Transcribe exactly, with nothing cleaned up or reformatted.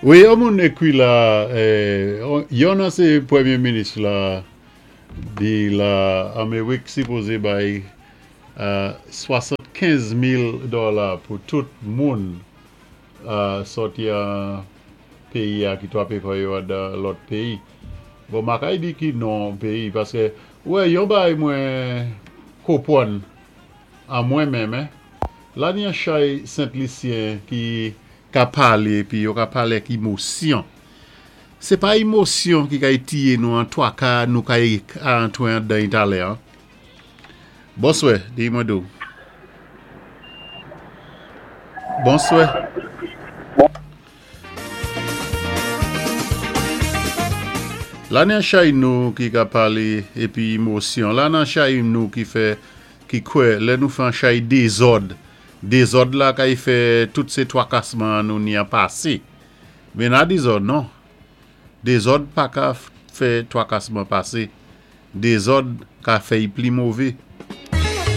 Wi, yon moun ékwi la, yon ansyen pwémyé minis la di la Améwik sipozé bay swasannkenz mil dola pou tout moun sòti an péyi a ki twapé kò yo dan lòt péyi. Bon, ma kay di ki non péyi, paské, wè, yon bay mwen konpwann an mwen menm, la ni an chay Sent Lisyen ki ka palé, pi yo ka palé ak émosyon. Sé pa émosyon ki kay tiyé nou an twaka nou kay antwé an dan talè, an. Bonswè, di mwen dou. Bonswè. La nan chay nou ki ka palé épi émosyon, la nan chay nou ki fè, ki kwè, lè nou fè an chay dézòd, dézòd la kay fè tout sé twakasman nou ni an pasé. Men nan dézòd, non. Dézòd pa ka fè twakasman pasé. Dézòd ka fè y pli mové.